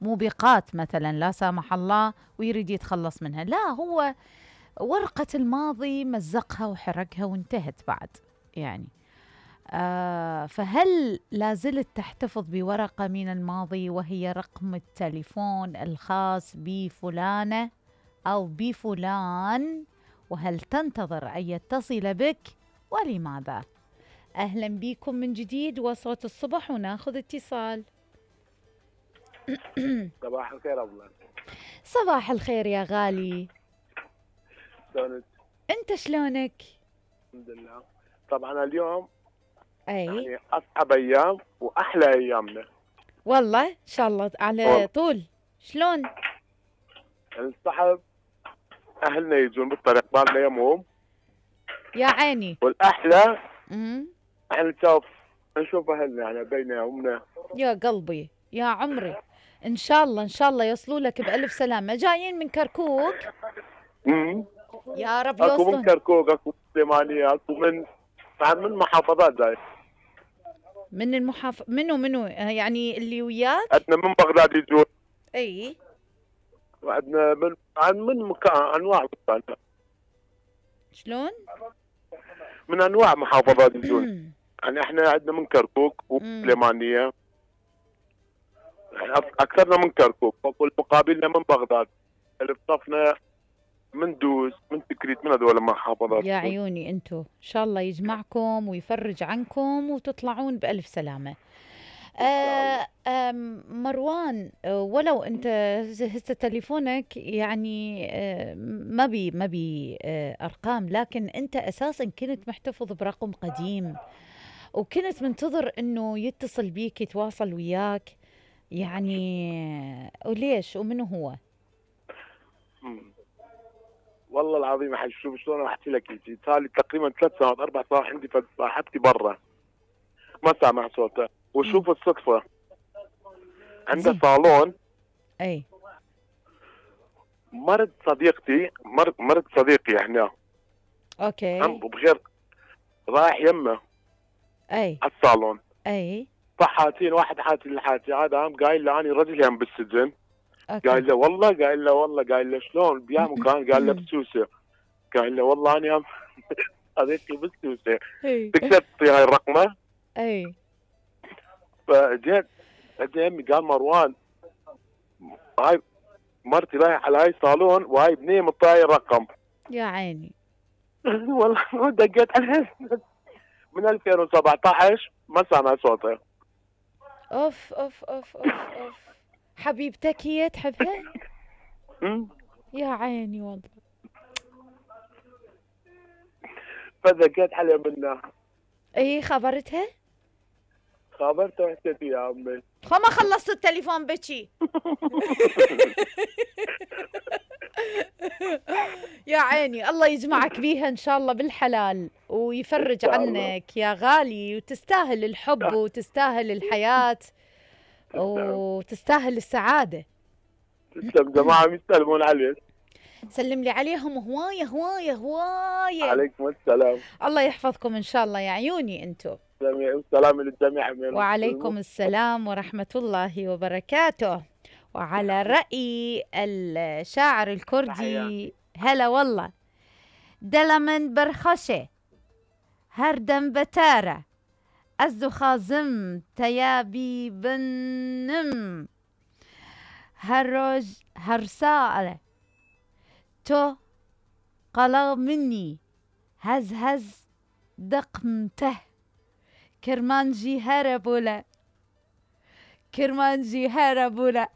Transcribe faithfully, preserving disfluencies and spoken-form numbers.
موبقات مثلا لا سامح الله ويريد يتخلص منها، لا، هو ورقة الماضي مزقها وحرقها وانتهت بعد يعني. آه فهل لازلت تحتفظ بورقة من الماضي وهي رقم التليفون الخاص بفلانة أو بفلان؟ وهل تنتظر أن يتصل بك ولماذا؟ أهلا بكم من جديد وصوت الصبح وناخذ اتصال. صباح الخير أبو. صباح الخير يا غالي. شلونك؟ أنت شلونك؟ الحمد لله. طبعا اليوم أي يعني أصعب أيام وأحلى أيامنا والله إن شاء الله على والله. طول. شلون؟ الصحب أهلنا يجون بالطريق بالنا يمهم يا عيني. والأحلى امم يعني نشوف نشوف أهلنا يعني بين يومنا. يا قلبي يا عمري، إن شاء الله إن شاء الله يوصلوا لك بألف سلامة. جايين من كركوك؟ امم يا رب أكو من يوصلون. كركوك، أكو من سليمانية، أكو من من محافظات جاي. من المحاف منو منو يعني اللي وياك؟ عندنا من بغداد يجون. اي وعندنا من عن من مكان أنواع مكان. شلون؟ من أنواع محافظات يجون. يعني احنا عندنا من كركوك وسليمانية، يعني اكثرنا من كركوك، والمقابلنا من بغداد، اللي بصفنا من دوز من تكريت من هذول المحافظات. يا عيوني انتو ان شاء الله يجمعكم ويفرج عنكم وتطلعون بألف سلامة. آه آه مروان، آه ولو انت هسه تليفونك يعني آه ما بي ما بي آه ارقام، لكن انت اساسا كنت محتفظ برقم قديم وكنت منتظر انه يتصل بيك يتواصل وياك يعني، وليش ومنو هو؟ مم. والله العظيم احس شوف شلون احكي لك، انت صار لي تقريبا ثلاث سنوات اربع سنوات عندي صاحبتي برا ما سامع صوتها، وشوف مم. الصدفه عندها زين. صالون. اي مرض صديقتي مرض مرض صديقي هنا اوكي هم بغير رايح يمه اي على الصالون. اي فحاتين واحد حاتي لحاتي، هذا قام قايل له اني رجلي هم بالسجن. اوكي قال له والله قال له والله قال له شلون بيا مكان؟ قال له بسوسه. قال له والله اني هم صديقي بسوسه، اي تقدر تعطي هاي الرقمه؟ اي فجيت اجى يمي قال مروان هاي مرتي رايحه على هاي الصالون وهاي بنيه مطاي الرقم. يا عيني. والله دقيت عليها من ألفين وسبعة عشر ما سامع صوتها. اوف اوف اوف اوف اوف حبيبتك هي تحبها؟ يا عيني والله. فدقيت عليها منها. اي خبرتها؟ خابرته وحكيت يا امي. خو ما خلصت التليفون بكي. يا عيني، الله يجمعك بيها ان شاء الله بالحلال ويفرج عنك يا غالي، وتستاهل الحب وتستاهل الحياة وتستاهل السعادة. تسلم، جماعة يسلمون عليك. سلم لي عليهم هواية هواية هواية. عليكم السلام. الله يحفظكم ان شاء الله يا عيوني انتو. والسلام للجميع. وعليكم السلام ورحمة الله وبركاته. وعلى رأي الشاعر الكردي، هلا والله، دلمن برخشة هردم بتارة أزدو خازم تيابي بنم هروج هرسالة تو قلق مني هز هز دقمته كرمانجي هربولا كرمانجي هربولا.